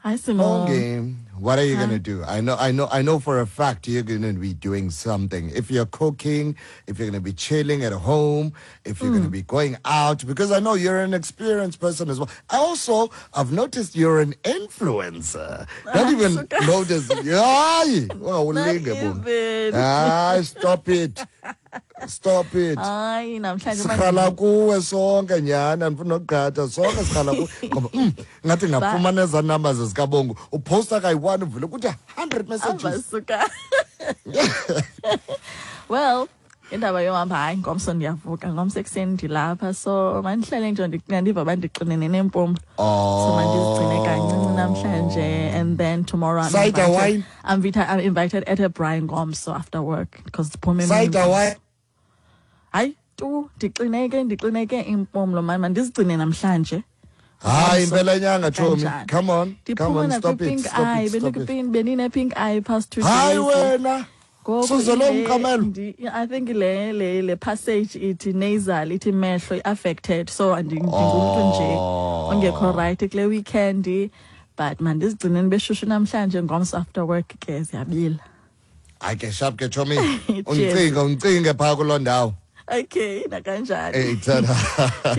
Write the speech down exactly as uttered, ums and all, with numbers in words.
Hi, Simon. Bongi, what are you gonna do? I know, I know, I know for a fact you're gonna be doing something. If you're cooking, if you're gonna be chilling at home, if you're gonna be going out, because I know you're an experienced person as well. I also, I've noticed you're an influencer. Not even notice. Hayi, Not ulinge, Bongi. even. Hayi, stop it. Stop it. Hayi, namhlanje Sikhala kuwe sonke nyana, ndifuna ukugqatha sonke sikhala kuwe ngoba mm, ngathi ngafumana ezaa numbers zikaBongo, uphosta kayi-one uvule kuthi hundred messages. Abasuka. Well, indaba yohamba, hayi, ngomso ndiyavuka, ngomso ekuseni ndilapha, so mandihlale nje ndiva uba ndixinene nempumlo. So mandizigcine kancinci namhlanje and then tomorrow I'm Cider invited, wine? I'm, vita, I'm invited at a braai ngomso after work because ndiphume emini. Cider wine. Hayi tu, ndixineke ndixineke impumlo mani, mandizigcine namhlanje. Hayi, Ngomso. impela nyanga, chomi. Kanjani? Come on, come Ndiphuma on, stop it, nakwi-pink stop eye. it, stop it. Bendikwi-pink, bendine-pink eye past two Hayi days. wena. Ngoku Suze lo ile- mqamelo. ndi- I think le le le passage ithi nasal, ithi mehlo i-affected, so andi- ndingumntu nje ongekho right kule weekend, but mandizigcine beshushu namhlanje, ngomso after work ke ziyabila. Hayi ke, sharp ke, chomi. Cheers. Undicinge, undicinge phaa kuloo ndawo. Okay, nakanjani. Hey, tada. Cheers.